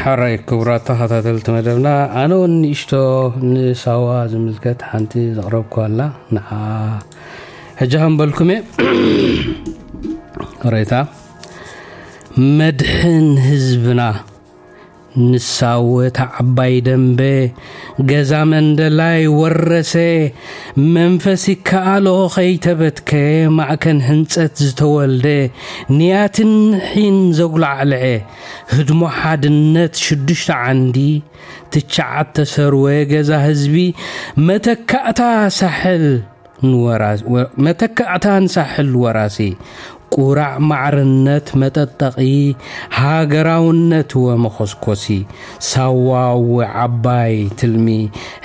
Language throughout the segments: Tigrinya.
ኣራይ ክቡራት ተኸታተልቲ መደብና፣ ኣነ እውን ንእሽቶ ንሳዋ ዝምልከት ሓንቲ ዘቕረብኩ ኣላ። ንዓ ሕጂ ከምበልኩም እየ። ሬታ መድሕን ህዝብና ንሳወ እታ ዓባይ ደንበ፣ ገዛ መንደላይ ወረሰ፣ መንፈስ ይከኣሎ ከይተበትከ፣ ማእከን ህንጸት ዝተወልደ፣ ንያትን ሒን ዘጉላዕልዐ፣ ህድሞ ሓድነት ሽዱሽተ ዓንዲ፣ ትሽዓተ ሰርወ ገዛ ህዝቢ፣ መተካእታ ሳሕል ንወራ-፣ ወ-፣ መተካእታ ንሳሕል ወራሲ፣ ቁራዕ ማዕርነት መጠጠቒ፣ ሃገራውነት ወመኾስኮሲ፣ ሳዋ ወዓባይ ትልሚ፣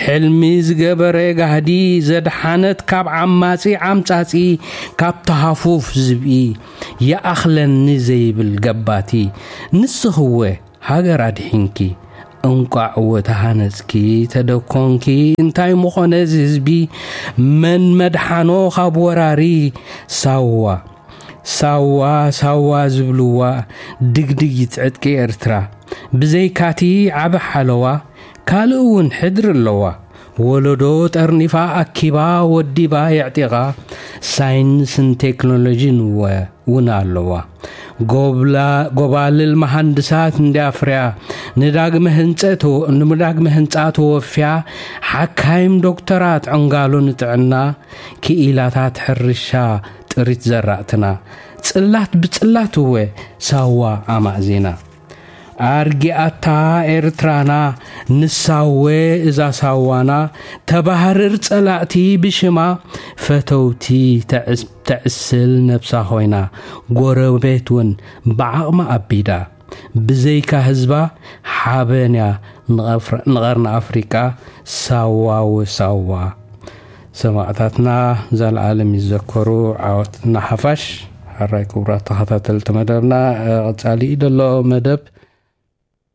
ሕልሚ ዝገበረ ጋህዲ፣ ዘድሓነት ካብ ዓማጺ ዓምጻጺ፣ ካብ ተሃፉፍ ዝብኢ፣ ይኣኽለኒ ዘይብል ገባቲ፣ ንስኽወ ሃገር ኣድሒንኪ፣ እንቋዕ ወተሃነጽኪ፣ ተደኮንኪ፣ እንታይ ምኾነ እዚ ህዝቢ፣ መን መድሓኖ ካብ ወራሪ? ሳዋ፣ ሳዋ፣ ሳዋ ዝብልዋ፣ ድግድጊት ዕጥቂ ኤርትራ፣ ብዘይካቲ ዓቢ ሓለዋ፣ ካልእ እውን ሕድሪ ኣለዋ። ወለዶ ጠርኒፋ ኣኪባ ወዲባ የዕጢቓ፣ ሳይንስን ቴክኖሎጂን እወ እውን ኣለዋ። ጎብላ-፣ ጎባልል መሃንድሳት እንዲኣፍርያ፣ ንዳግመ ህንጸት-፣ ንዳግመ ህንጻ ተወፍያ፣ ሓካይም ዶክተራት ዕንጋሎ ንጥዕና፣ ክኢላታት ሕርሻ ጥሪት ዘራእትና፣ ጽላት ብጽላት እወ ሳዋ ኣማእዚና። ኣርጊኣታ ኤርትራና ንሳወ እዛ ሳዋና፣ ተባህርር ጸላእቲ ብሽማ፣ ፈተውቲ ተዕስ-፣ ተዕስል ነብሳ ኮይና፣ ጎረቤት እውን ብዓቕማ ኣቢዳ። ብዘይካ ህዝባ ሓበንያ ንቐፍረ-፣ ንቐርኒ ኣፍሪቃ ሳዋ ወሳዋ። ሰማዕታትና ዘልዓለም ይዘከሩ፣ ዓወት ንሓፋሽ። ሕራይ ክቡራት ተኸታተልቲ መደብና፣ እ፣ ቀጻሊ እዩ ዘሎ መደብ።